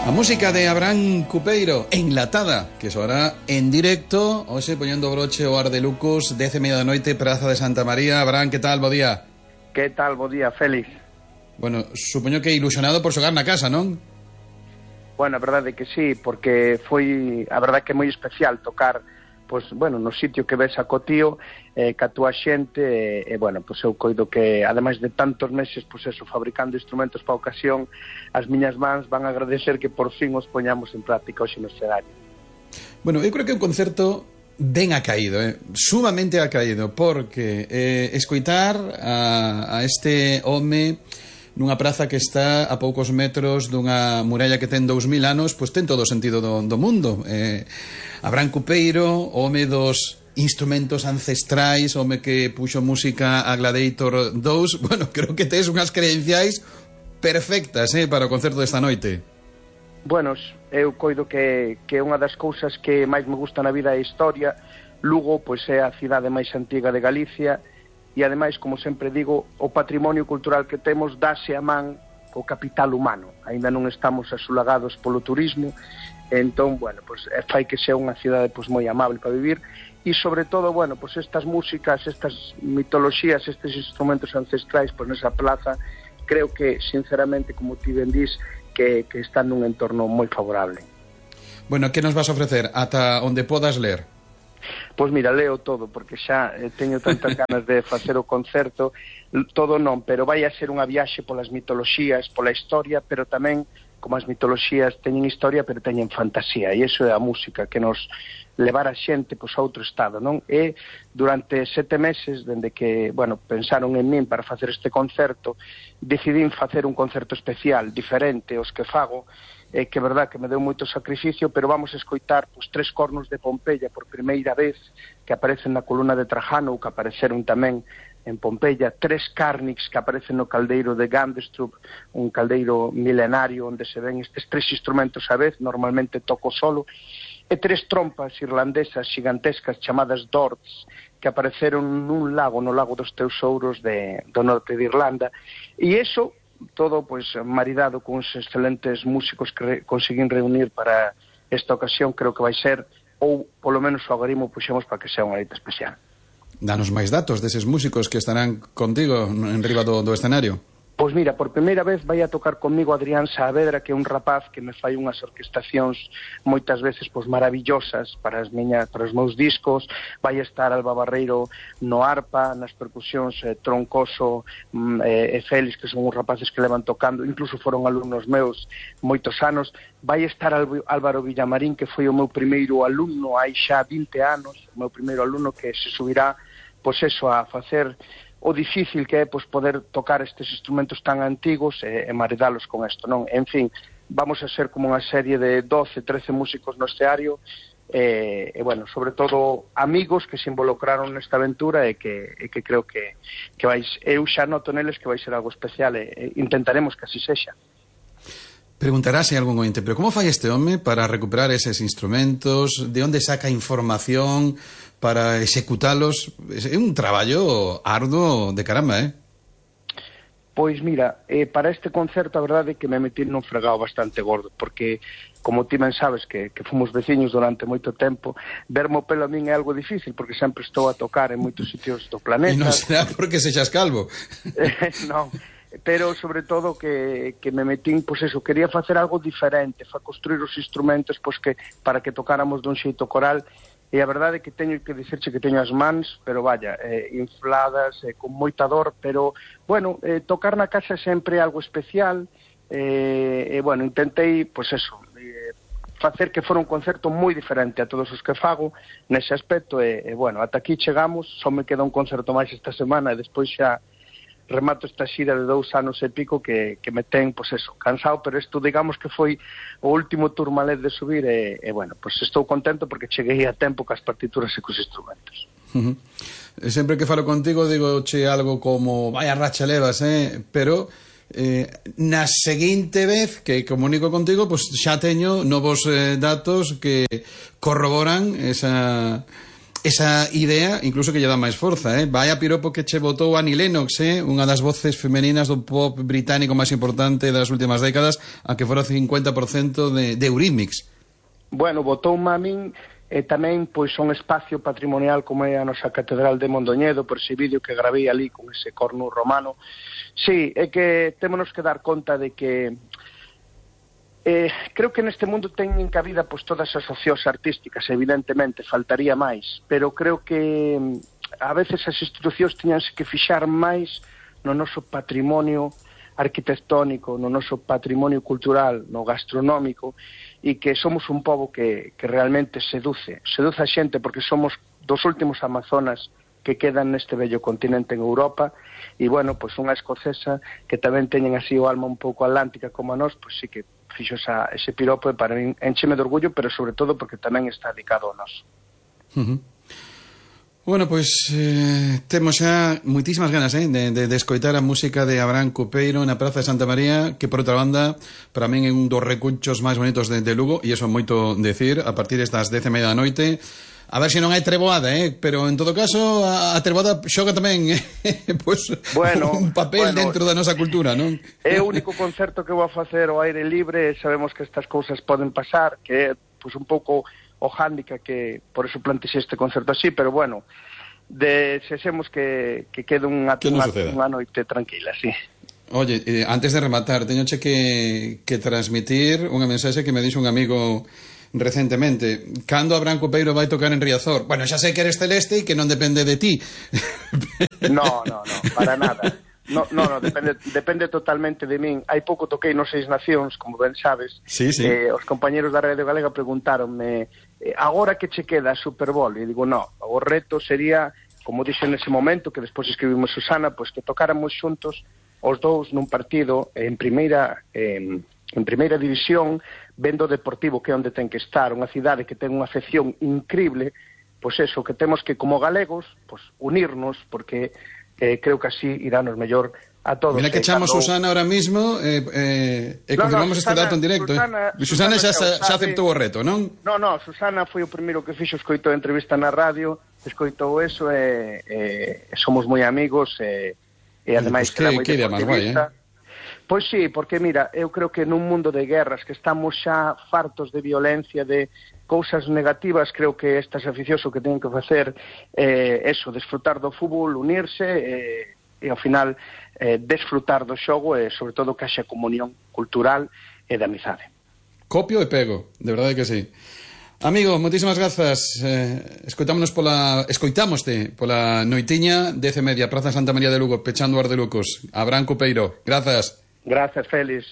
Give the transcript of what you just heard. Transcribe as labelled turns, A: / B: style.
A: A música de Abraham Cupeiro, enlatada, que soará en directo, hoxe poñendo broche o Ardelucos, 10:30 da noite, Praza de Santa María. Abraham, que tal? Bo día.
B: Que tal? Bo día, Félix.
A: Bueno, supoño que ilusionado por xogar na casa, non?
B: Bueno, a verdade que sí, porque foi, a verdade que é moi especial tocar, pois, bueno, no sitio que ves a Cotío, ca túa xente, bueno, pois eu coido que, ademais de tantos meses, pois eso, fabricando instrumentos para a ocasión, as miñas mans van a agradecer que por fin os poñamos en práctica hoxe no escenario.
A: Bueno, eu creo que é un concerto ben acaído, sumamente acaído, porque escoitar a este home nunha praza que está a poucos metros dunha muralla que ten 2000 anos, pois ten todo o sentido do mundo. Abraham Cupeiro, home dos instrumentos ancestrais, home que puxo música a Gladiator 2, bueno, creo que tes unhas credenciais perfectas para o concerto desta noite.
B: Bueno, eu coido que unha das cousas que máis me gusta na vida é a historia. Lugo, pois, é a cidade máis antiga de Galicia, e ademais, como sempre digo, o patrimonio cultural que temos dáse a man co capital humano. Ainda non estamos asulagados polo turismo, entón, bueno, pois fai que sea unha cidade pois moi amable para vivir, e sobre todo, bueno, pois estas músicas, estas mitoloxías, estes instrumentos ancestrais, pois nesa plaza, creo que, sinceramente, como ti ben dís, que están nun entorno moi favorable.
A: Bueno, que nos vas a ofrecer ata onde podas ler?
B: Pois mira, leo todo, porque xa teño tantas ganas de facer o concerto, todo non, pero vai a ser unha viaxe polas mitoloxías, pola historia, pero tamén, como as mitoloxías teñen historia, pero teñen fantasía, e iso é a música, que nos levar a xente pois, a outro estado, non? E durante 7 meses, dende que, bueno, pensaron en min para facer este concerto, decidín facer un concerto especial, diferente aos que fago, que é verdad que me deu moito sacrificio, pero vamos a escoitar pois, 3 cornos de Pompeia por primeira vez, que aparecen na columna de Trajano, ou que apareceron tamén en Pompeia, 3 cárnix que aparecen no caldeiro de Gandestrup, un caldeiro milenario onde se ven estes 3 instrumentos a vez, normalmente toco solo, e 3 trompas irlandesas xigantescas chamadas Dords, que apareceron nun lago, no lago dos Tesouros do norte de Irlanda, e iso todo pois maridado con os excelentes músicos que conseguín reunir para esta ocasión, creo que vai ser, ou polo menos o agarimo puxemos para que sea unha noite especial.
A: Danos máis datos deses músicos que estarán contigo en riba do escenario.
B: Pois mira, por primeira vez vai a tocar comigo Adrián Saavedra, que é un rapaz que me fai unhas orquestacións moitas veces pois maravillosas para os meus discos. Vai estar Alba Barreiro no arpa, nas percusións Troncoso e Félix, que son uns rapaces que levan tocando, incluso foron alumnos meus moitos anos. Vai estar Álvaro Villamarín, que foi o meu primeiro alumno hai xa 20 anos, o meu primeiro alumno, que se subirá pois eso, a facer o difícil que é pois, poder tocar estes instrumentos tan antigos e maridalos con isto, non? En fin, vamos a ser como unha serie de 12, 13 músicos no escenario e bueno, sobre todo amigos que se involucraron nesta aventura e que creo que eu xa noto neles que vai ser algo especial e intentaremos que así sexa.
A: Preguntarase algún ointe, pero como fai este home para recuperar eses instrumentos? De onde saca información para executalos? É un traballo arduo de caramba,
B: Pois mira, para este concerto a verdade é que me metí nun fregado bastante gordo, porque como ti ben sabes que fomos veciños durante moito tempo, verme o pelo a min é algo difícil, porque sempre estou a tocar en moitos sitios do planeta.
A: E non será porque sexas calvo.
B: Non, pero sobre todo que me metín, pois eso, quería facer algo diferente, construir os instrumentos pois que para que tocáramos dun xeito coral. E a verdade é que teño que dicirche que teño as mans, pero vaya, infladas, con moita dor, pero, bueno, tocar na casa sempre é algo especial, e, bueno, intentei, pois eso, facer que fora un concerto moi diferente a todos os que fago nese aspecto, e bueno, ata aquí chegamos, só me queda un concerto máis esta semana, e despois xa remato esta xira de 2 anos e pico que me ten, pois eso, cansado, pero isto digamos que foi o último turmalet de subir e bueno, pois estou contento porque cheguei a tempo cas partituras e cos instrumentos.
A: Sempre que falo contigo digo che algo como vaya racha levas, pero na seguinte vez que comunico contigo, pois xa teño novos datos que corroboran esa idea incluso que lle dá máis forza, vai a piropo que che botou Annie Lennox, unha das voces femeninas do pop británico máis importante das últimas décadas, a que fora 50% de Eurythmics.
B: Bueno, botou a min tamén pois un espacio patrimonial como é a nosa Catedral de Mondoñedo, por ese vídeo que gravei ali con ese cornu romano. Sí, é que témonos que dar conta de que creo que neste mundo teñen cabida pois todas as opcións artísticas, evidentemente, faltaría máis, pero creo que a veces as institucións teñanse que fixar máis no noso patrimonio arquitectónico, no noso patrimonio cultural, no gastronómico, e que somos un pobo que realmente seduce a xente, porque somos dos últimos amazonas que quedan neste bello continente en Europa, e, bueno, pois unha escocesa que tamén teñen así o alma un pouco atlántica como a nós, pois sí que fixo ese piropo e para min encheme de orgullo, pero sobre todo porque tamén está dedicado a nós.
A: Bueno, pois temos xa moitísimas ganas de escoitar a música de Abraham Cupeiro na Praza de Santa María, que por outra banda para min é un dos recunchos máis bonitos de Lugo, e iso é moito decir, a partir destas 10:30 da noite. A ver se non hai treboada, pero en todo caso a treboada xoga tamén pois, un papel dentro da nosa cultura, non?
B: É o único concerto que vou a facer ao aire libre, sabemos que estas cousas poden pasar, que é pois, un pouco o hándicap que por eso plantexe este concerto así, pero bueno, desexemos que quede unha noite tranquila, sí.
A: Oye, antes de rematar, teñoche que transmitir unha mensaxe que me dixo un amigo recentemente. Cando Abraham Cupeiro vai tocar en Riazor? Bueno, xa sei que eres celeste e que non depende de ti.
B: No, para nada. No, depende totalmente de min. Hai pouco toquei nos Seis Nacións, como ben sabes.
A: Sí.
B: Os compañeros da Radio Galega preguntáronme agora que che queda a Super Bowl? E digo, no, o reto sería, como dixo nese momento, que despois escribimos Susana, pois que tocáramos xuntos os dous nun partido en primeira división, vendo o Deportivo, que é onde ten que estar, unha cidade que ten unha afección increíble, pois eso, que temos que, como galegos, pois unirnos, porque creo que así irános mellor a todos.
A: Mira que chamo Susana ahora mismo confirmamos este dato en directo. Susana xa aceptou o reto, non?
B: No, Susana foi o primeiro que fixo, escoitou a entrevista na radio, escoitou eso, somos moi amigos, e ademais
A: que idea máis guai,
B: Pois sí, porque mira, eu creo que nun mundo de guerras, que estamos xa fartos de violencia, de cousas negativas, creo que estas aficións o que teñen que facer eso, desfrutar do fútbol, unirse e ao final desfrutar do xogo e sobre todo que haxa comunión cultural e de amizade.
A: Copio e pego, de verdade que sí. Amigo, moitísimas grazas. Escoitámoste pola noitiña 10:30, Praza Santa María de Lugo, pechando o Ar de Lucos. Abraham Cupeiro, grazas.
B: Gracias, Félix.